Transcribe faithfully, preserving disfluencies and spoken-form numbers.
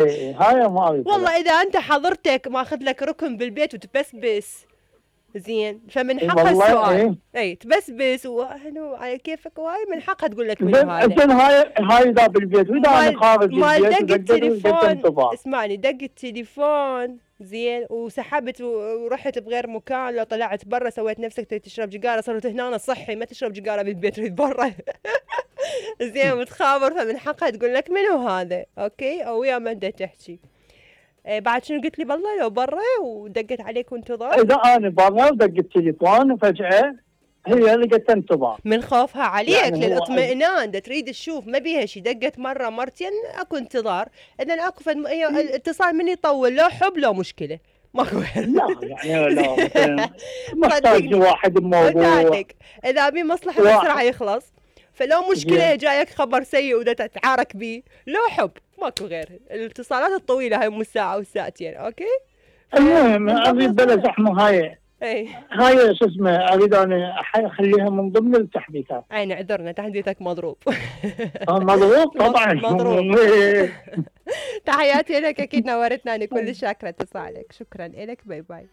إيه هاي ما ابي. والله اذا انت حضرتك ماخذ لك ركن بالبيت وتبسبس زين فمن حقها السؤال. إيه؟ اي تبسبس وهنو على كيفك وهاي من حقها تقول لك منو زين هذا. زين هاي هاي اذا بالبيت واذا انا خارج مال البيت دق التليفون. انتظار. اسمعني دق التليفون زين وسحبت ورحت بغير مكان، لو طلعت برا سويت نفسك تشرب جقاره، صرت هنا صحي ما تشرب جقاره بالبيت تريد برا. زين وتخابر فمن حقها تقول لك منو هذا. اوكي او ويا من دا تحكي. إيه بعد شنو قلت لي بالله لو برا ودقت عليك وانتظار؟ اذا انا برا ودق التليفون وفجاه هي اللي قلت انتظار من خوفها عليك يعني للاطمئنان، دا تريد تشوف ما بيها شيء، دقت مره مرتين اكو انتظار، اذا اكو فد... الاتصال من يطول لو حب لو مشكله ماكو. لا يعني لا مثلا محتاج واحد بموضوع اذا بي مصلحه بسرعه يخلص، فلو مشكله جايك خبر سيء ودا تتعارك بيه لو حب ماكو غير. الاتصالات الطويله هاي مو ساعه وساعتين. اوكي المهم اريد بلا زحمه هاي. اي هاي شو اسمه اريد انا اخليها من ضمن التحديثات. اي نعذرنا تحديثك مضروب. مضروب طبعا مضروب. تحياتي لك اكيد نورتنا، انا كل شاكره اتصالك. شكرا لك. باي باي.